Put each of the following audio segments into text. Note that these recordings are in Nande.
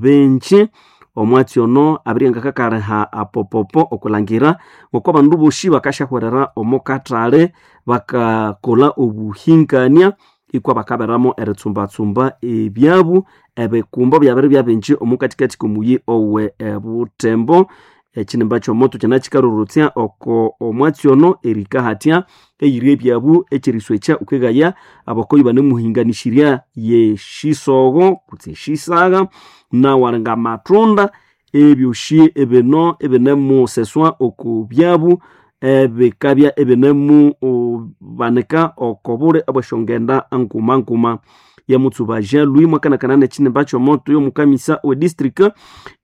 Bingi omwatsi ono abiriangakakaliha apopopo okulangira ngoko abandu bosi bakasyahwerera omo kathali bakakolha obuhingania ikwa bakaberamo eritsumbatsumba ebyabu ebikumbo byabiribya bingi omo kathikathi komuyi owe ebutembo. Ekinimba kyomoto kyanakikarorotsya oko omwatsi ono erikahatya eyiri ebyabu ekyeriswekya wukeghaya abakoyi banemuhinganishirya yesyisogo kutse esyisagha nawalinga amatunda ebyosi ebino ibinemuseswa oko byabu ebikabya ibinemu banika oko buli obwesyongenda nguma nguma. Yamutsuba Jean Louis mwakanakana nekinimba kyomoto yomukamisa we district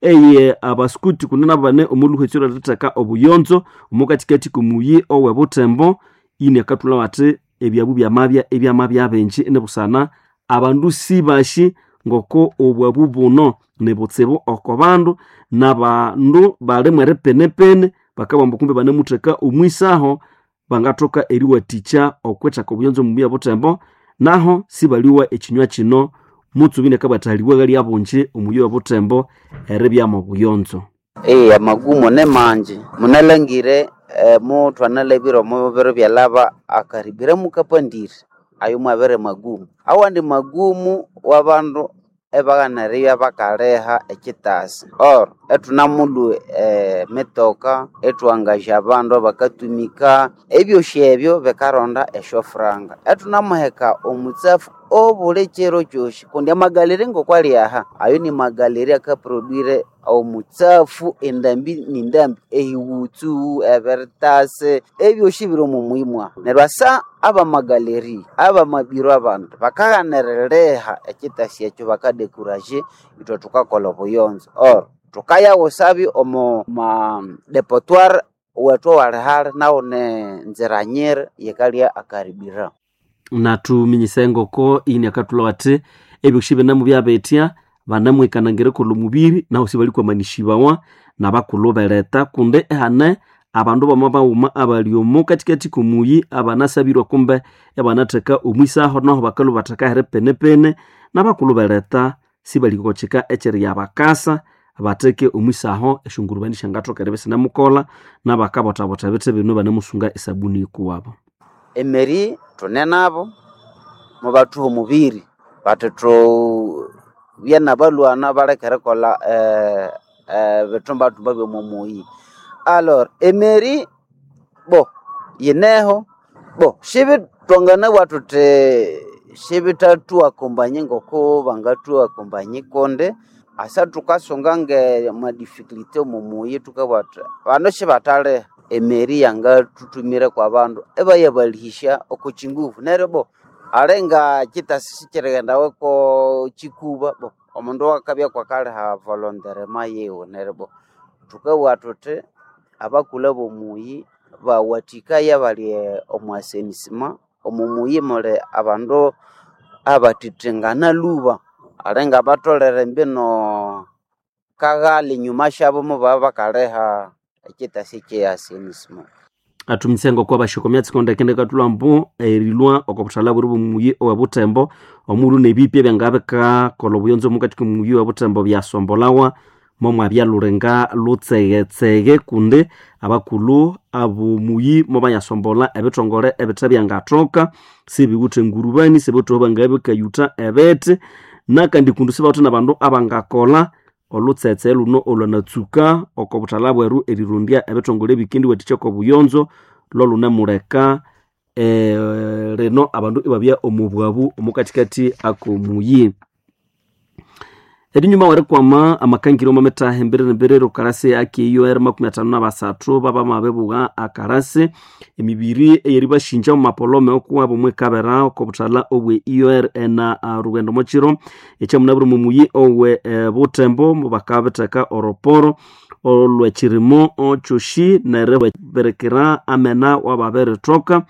eye abaskuti kundi nabane omuluhwetsi olweritheka obuyonzo omo kathikathi komuyi owe Butembo ini akathulha athi ebyabu byamabya ebyamabya bingi inibusana abandu sibasi ngoko obwabu buno nibutsibu oko bandu nabandu bali mweripenepene bakabugha kumbe banemutheka omwisaho bangathoka eriwathikya okwitheka obuyonzo omuyi obutembo naho sibaliwa ekinywa kino mutsubi inakabugha athi lyabungi omuyi obutembo eribya mobuyonzo. Amagumu ni mangi munalangire muthwanalabire omo biro byalhaba akaribira mukapandire ayo mwabere magumu. Awandi magumu wabandu ebaghana eribya bakaliha ekyitasi or ithunamulhwa emitoka ithwangaja abandu abakatumika ebyosi ebyo bikaronda esyofuranga. Ithunamuheka omutsafu obuli kiro kyosi kundi amagalere ngokwali aha ayo ni magalere akaproduire omutsafu endambi nindambi ehighutsu, ebiritasi ebyosi biri omo muyi mwahu. Neryo asa abamagaleri abamabiro abandu bakaghana eriliha ekyitasi ekyo bakadekuraje ithwe thukakolha obuyonzo or thukayaghusabyo omo madepotoire wethu owalihali nawu ni nzira nyiri yikalya akaribira. Nathuminyisa engoko ini akathulha athi ebyosi binemubyabithya banemwikananga erikolha omubiri nahu sibalikwamanisibawa nabakulhu beretha kundi ihane abandu bama baghuma abali omo kathikathi komuyi abanasabirwe kumbe ibanatheka omwisaho nahu bakalhwa batheka heripenepene nabakulhu beretha sibalikokyika ekyeriyabakasa batheke omwisaho esyongurubani syangathoka eribya isinemukolha nabakabothabotha ebithi bino banemusunga esabuni yikuwabo. Emeri thune nabo mubathuha omubiri bathi thubye nabalhwana baleke erikolha ebithumbathumba byomo muyi. Alor emeri bo yineho bo sibithwanganabugha thuthi sibithathuakombanye ngoko bangathuakombanye kundi asa thukasunga nge madificulty omo muyi thukabugha thuthi bano sibathaliha emeri yangathuthumire kwa bandu ibayabalhihisya oko kyinguvu neryo bo alinga kyitasi sikyirighendawa ko kyikuba bo omundu akabya kwakaliha volonterema yiwe neryo bo thukabugha thuthi abakulhu abomuyi bawathikaya abali omo asenisima omo muyi muli abandu abathithingana lhuba alinga batholere mbino kaghali enyuma syabo mubabya bakaliha ekyitasi ekye asenisima. Athuminyisa engoko abashoko emyatsi ndekendeke ekathulha ambu erilhwa oko buthalha bweri bwomuyi owe Butembo omulhu nebipya ebyangabikakolha obuyonzo omukathi komuyi owe Butembo byasombolhawa momwabya lulinga lutsegetsege kundi abakulhu abomuyi mobayasombolha ebithongole ebithe byangathoka sibiwithe engurubani sibiwithe aho bangabikayutha ebithi nakandi kundi sibawithe nabandu abangakolha olutsetse luno olwanatsuka oko buthalha bweru erirondya ebithongole ebikendiwathikya oko buyonzo lolhunemuleka lino abandu ibabya omo bwabu omukathikathi akomuyi. Erinyuma werikwama amakangiro omo mithaha emberere okalasi ake EOR 53 babamabibugha akalasi emibiri eyeribashinja omu mapolome okuwabo omwikabera oko buthalha obwe EOR ena rugendo omokiro ekyamunabwire omo muyi owe Butembo mubakabitheka oroporo olwekirimo kyosi neribirikira amena wababirithoka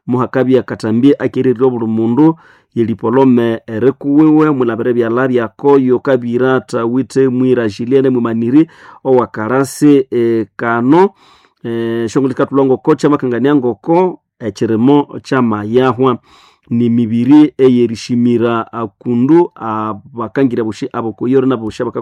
muhakabya akathambi akerirya obuli mundu yelipolome erikuwiwe mwilabira ebyalha byakoyo kabira thawithe mwira Julienne mwimaniri owakalasi kano esyongulho sikathulha ngoko kyamakangania ngoko ekirimo kyamayahwa. Ni mibiri eyerishimira akundu abakangira boshi abokoyore naboshi abakakolha.